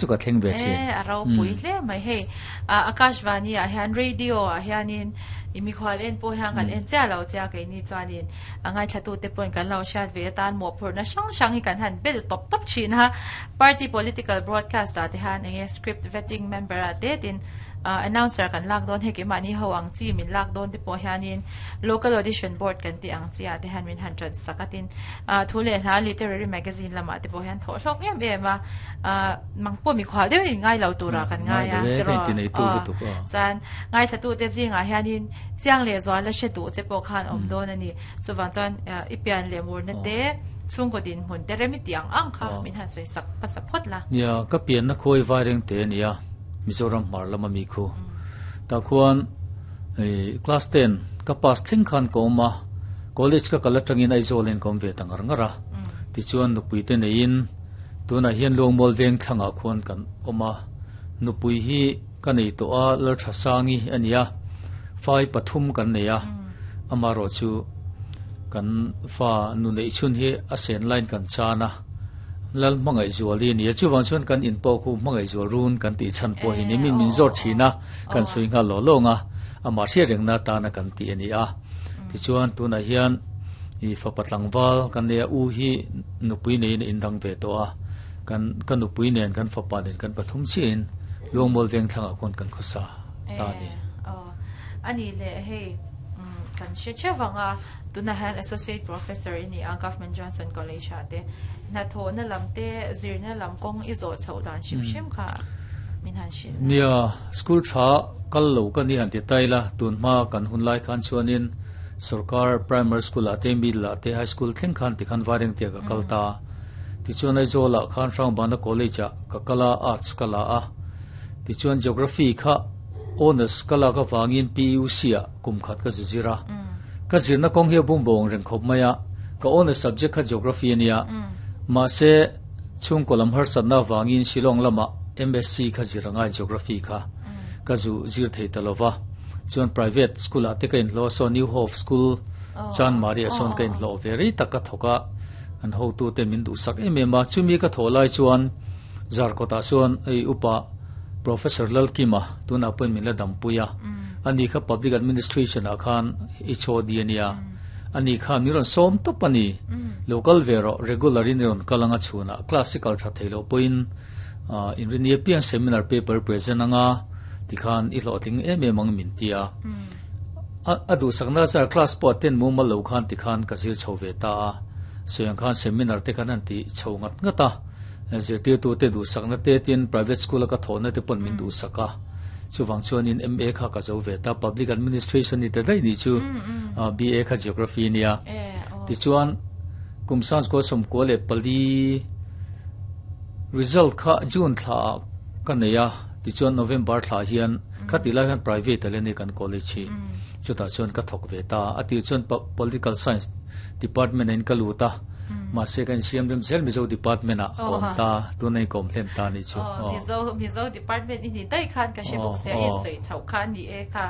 Chu ka thleng ve thin. E, a ropui hle mai hei. Akashvani ah hian radio ah hianin i mikhual en pawh hian kan en chiah lo che a, keini chuanin a ngaithlatute pawhin kan lo hriat ve atan mawhphurhna hrang hrang hi kan han bel tawp tawp thin a. Party political broadcast ah te hian enge script vetting member ah te tin announcer kan lak dawn hei keimahni ho ang chi min lak dawn te pawh hianin local audition board kan tih ang chi ah te hian min han tan sak a tin thu leh hla literary magazine lamah te pawh hian thawh hlawk em em a. Mang pawh mikhual deuhin in ngai lo tura kan ngai a tiraw chuan ngaithlatute zingah hianin chiang leh zual la hre duh che pawh khan awm dawn a ni. Chuvang chuan i pian leh murna te chhungkaw dinhmun te rem i tih ang ang kha min han sawi sak hmasa phawt la. Nia, ka pianna khawi vai reng te a nia, Mizoram hmar lama mi khu. Tah khuan class 10 ka pass thleng khan ka awm a, college ka kal atangin Aizawl in ka awm ve ta ngar ngar a. Tichuan nupui te neiin Tunah hian Luangmual veng thlangah khuan kan awm a, nupui hi ka nei tawh a, Lalthasangi a ni a, fai pathum kan nei a, amaherawh chu kan fa nu neih chhun hi a sen laiin kan chan a, Lal Hmangaihzuali a ni a, chuvang chuan kan in pawh khu Hmangaihzual run kan tih chhan pawh hi ni, min min zawt thin a, kan sawi nghal lawh lawng a, amah hriat rengna atana kan tih a ni a, tichuan tunah hian. I fapa tlangval kan nei a, u hi nupui neiin a indang ve tawh a, kan ka nupui nen kan fapa nen kan pathum chiahin Luangmual veng thlangah khawn kan khawsa ta a ni. Aw, a nih leh hei kan hre theuh vang a, tunah hian Associate Professor i ni a Government Johnson College ah te hnathawhna lam te zirna lam kawng i zawh chhoh dan hrim hrim kha min han hrilh a. Nia, school tha kal lo ka ni han ti ta ila, tun hma kan hun lai khan chuanin Sorkar primary school ah te middle ah te high school thleng khan tikhan Vairengte ah ka kal ta a. Tichuan Aizawl ah khan Hrangbana College ah ka kal a, Arts ka la a. Tichuan Geography kha Honours ka lak avangin PUC ah kum khat ka zu zir a. Ka zirna kawng hi a bum bo ang reng khawp mai a, ka Honours subject kha Geography a nia. Mahse chhungkaw lam harsatna avangin Shillong lamah MSc kha zir a ngai Geography kha ka zu zir thei ta lo va. Chuan private school ah te ka inhlawh a, saw New Hope School Chanmari ah sawn ka inhlawh ve rei tak ka thawk a, an hotu te min duhsak em em a, chumi ka thawh lai chuan Zarkawt ah chuan hei upa Professor Lalkima tunah pawhin min la dampui a, ani kha Public Administration ah khan HOD a nia, ani kha min rawn sawm tawp a ni, lo kal ve rawh regular in i rawn kal anga chhunah class i kal tha thei loh pawhin Inrinni apiang seminar paper present anga tikhan i hlawhtling em em ang min ti a. A duhsakna zar class pawh attend mumal lo khan tikhan ka zir chho ve ta a. Sawi ang khan seminar te khan han ti chho ngat ngat a. Zirtirtu te duhsakna te tin private school a ka thawhna te pawn min duhsak a. Chuvang chuanin MA kha ka zo ve ta. Public administration ni ta daih nih chu BA kha geography nia. Tichuan kum sangchukua 94 Result kha June thla ah ka nei a, tichuan November thla ah hian khatih lai hian private ah leh kan college hi chutah chuan ka thawk ve ta a, a tir chuan Political Science department ah in ka lut a, mahse ka insiam rem zel Mizo department ah ka awm ta, tuna in ka awm hlen ta a nih chu. Mizo Mizo department i ni daih khan ka hre bawk sia, i insawi chhoh kha a ni e kha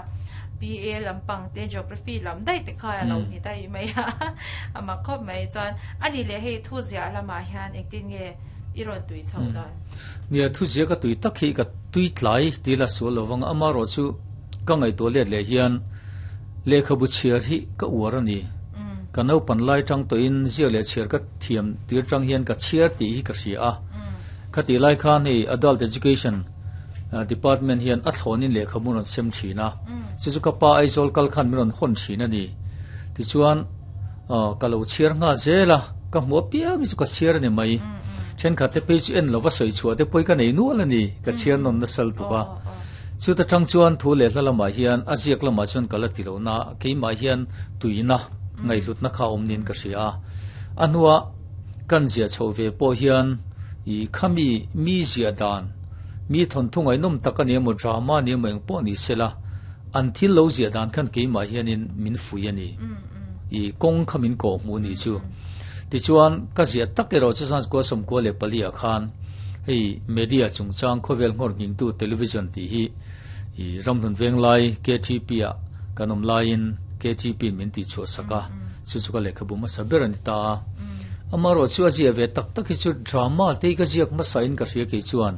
PA lampang te Geography lam daih te kha a lo ni daih mai a, a mak khawp mai chuan a ni leh hei thu ziah lamah hian engtin nge i rawn tui chhoh dan? Nia, thuzia ka tui tak hi ka tui tlai ti la sual lo vang a, amaherawh chu ka ngaihtuah let leh hian lehkhabu chhiar hi ka uar a ni. Ka naupan lai tang tawhin ziak leh chhiar ka thiam tir tang hian ka chhiar tih hi ka hria a. Khatih lai khan hei Adult Education Department hian a thlawnin lehkhabu rawn sem thin a, chu chu ka pa Aizawl kal khan min rawn hawn thin a ni. Tichuan. Aw, ka lo chhiar nghal zel a, ka hmuh apiang hi chu ka chhiar a ni mai. Thenkhat te phei chu en lova sawi chhuah te pawhi ka nei nual a ni, ka chhiar nawn nasal tuk a. Chuta tang chuan thu leh hla lamah hian a ziak lamah chuan ka la ti lo na, keimah hian tuina, ngaihhlutna kha a awm niin ka hria a. A hnua kan ziah chhoh ve pawh hian i khami mi ziah dan, mi thawnthu ngaihnawm tak a ni emaw drama a ni emaw engpawh ni sela, an thil lo ziah dan khan keimah hianin min fui a ni. I kawng kha min kawh hmuh nih chu. Tichuan, ka ziah tak erawh chu 1994 ah khan hei media chungchang khawvel nghawr nghingtu television tih hi i Ramhlun Venglai KTP ah kan awm laiin KTP in min tihchhuah sak a, chu chu ka lehkhabu hmasa ber a ni ta a. Amaherawh chu a ziah ve tak tak hi chu drama te hi ka ziak hmasa in ka hria kei chuan.